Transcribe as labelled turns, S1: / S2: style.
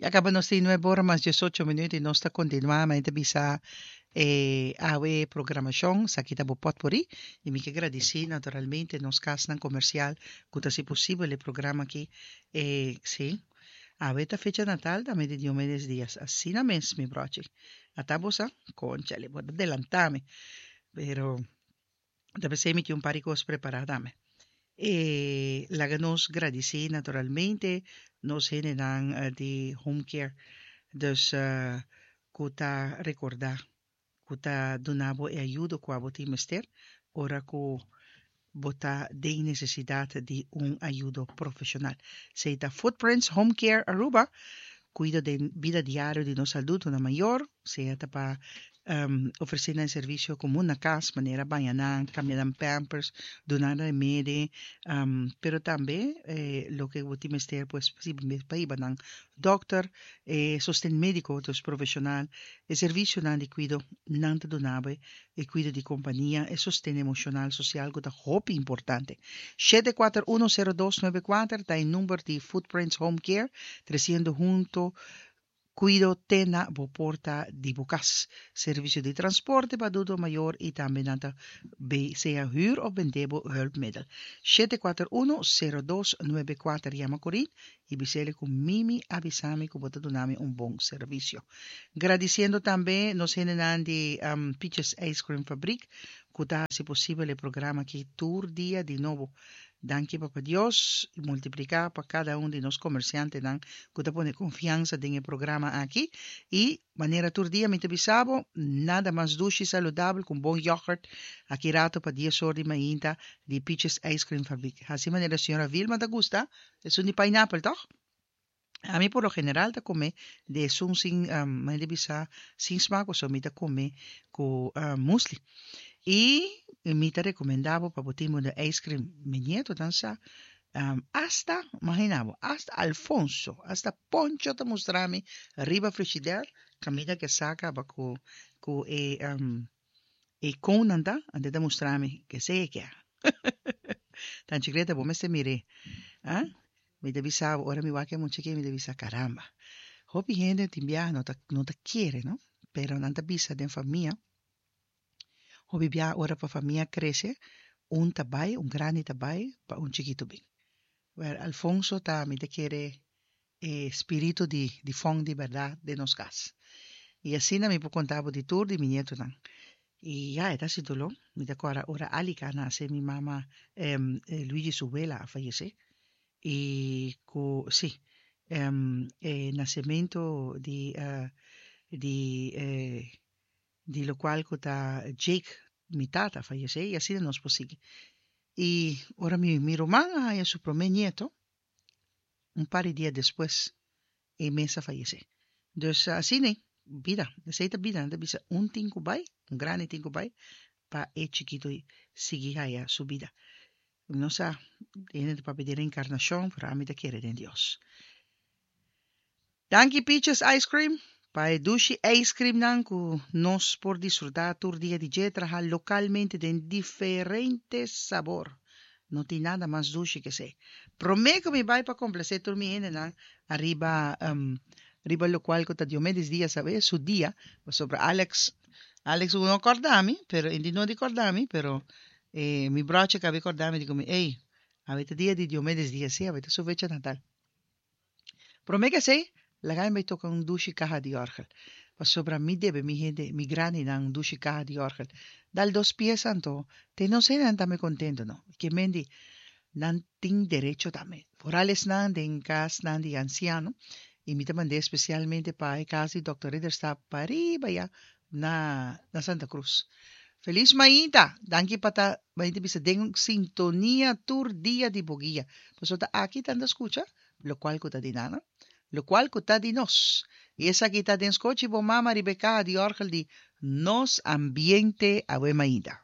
S1: Ya caba nos tin nuebe ora mas diesocho minuut y nos ta continua ma e ta bisa e awe programacion esaki ta bo potpourri y mi ke gradici naturalmente nos casnan comercial cu ta haci posibel e programa aki e si awe ta fecha natal tambe di Diomedes Diaz asina mes mi brochi ata bo sa conchale bo ta delanta mi pero Ta p'esei mi tin un par di kos prepará tambe. E laga nos gradisí naturalmente nos hendenan di Home Care, dus ku ta rekordá, ku ta duna bo e ayudo ku abo tin mester ora ku bo ta den nesesidat di un ayudo profeshonal. Esei ta Footprints Home Care Aruba, kuido den bida diario di nos adultonan mayor, sea ta pa ofresé nan servisio komun na kas, manera baña nan, kambia nan pampers, duna nan remedi, pero tambe loke bo tin mester pues pa hiba nan dòkter, e sosten médiko, dus profeshonal, e servisionan di kuido nan ta duna bo, e kuido di kompania, e sosten emoshonal, sosial ku ta hopi importante. 7410294 ta e number di Footprints Home Care, tresiendo hunto Kuido te na bo porta di bo kas. Servisio di transporte pa adulto mayor i tambe nan ta bay sea huur of bende bo hulpmiddel. 741 0294 Yama Corin i bis'el ku Mimi a bisa mi ku bo ta duna mi un bon servisio. Gradisiendo tambe nos hendenan di Peaches Ice Cream Fabriek ku ta hasi posibel e programa aki tur dia di nobo. Danki Papa Dios y multiplica pa cada un di nos comerciantenan cu ta pone confiansa den e programa aki y manera tur dia mi ta bisa bo nada mas dushi y saludabel cu un bon yoghurt aki rato pa dies or di mainta di Peaches Ice Cream Fabriek. Haci manera señora Vilma ta gusta esun di pineapple toch? Ami por lo general ta come di esun sin manera di bisa sin smaak pasobra mi ta come cu musli. Y mi ta recomenda bo pa bo tin bo de ice cream. Mi nietonan sa hasta, imagina bo, hasta Alfonso, hasta Poncho ta mustra mi riba frigider caminda ke sa caba cu cu e e conenan ta, anto e ta mustra mi kesey e kia. Tanchi Greta bo mester mir'é. Ah, mi ta bisa bo, ora mi wak e mucha aki mi ta bisa caramba. Hopi hende tin biaha no ta no ta kere no, pero nan ta bisa den famia, hopi biaha ora pa famia crece, un ta bai, un grandi ta bai pa un chikitu bin. Wel, Alfonso ta mi ta kere e spiritu di di fon di bèrdat den nos kas. I asina mi por konta bo di tur di mi nietonan. I ya, e ta hasi doló. Mi ta kòrda ora Alika a nase, mi mama Luigi su wela a fayesé. I ku, sí, e nasementu di di di lokual ku ta Jake, mi tata, a fayesé i asina nos por sigui. I ora mi mi ruman a haña su promé nieto, Un par di dia despues e mes a fayesé. Dus asina ei, bida, esei ta bida, nan ta bisa un tin ku bai, un grandi tin ku bai pa e chikitu sigui haya su bida. Mi no sa, hende ta papia di reenkarnashon, pero ami ta kere den Dios. Danki Peaches Ice Cream pa e dushi ice cream nan ku nos por disfruta tur dia di dje traha lokalmente den diferente sabor. No tin nada mas dushi ke esei. Prome ku mi bai pa komplase tur mi hendenan ariba riba lokual ku ta Diomedes Diaz awe su dia pasobra Alex Alex no kòrda mi pero e no di kòrda mi pero mi brochi a kaba di kòrda mi di ku mi ey awe ta dia di Diomedes Diaz si awe ta su fecha natal. Promé ke esei, laga mi bai toka un dushi kaha di òrgel, pasobra mi debe mi hende, mi grandinan un dushi kaha di òrgel. Dal dos piesa anto, te nos hendenan tambe kontentu, no? Ke men di, nan tin derecho tambe. Foral esnan den kasnan di ansiano, i mi ta mand'é spesialmente pa e kas di Dòkter Ridderstap pariba ya na na Santa Cruz. Feliz mainta! Danki pa ta mainta bisa den sintonia tur dia di bo guia. Pasobra ta aki tanta scucha locual cu ta di nan, locual cu ta di nos. Y esaki ta den scochi bo mama riba e caha di orgel di Nos Ambiente awe mainta.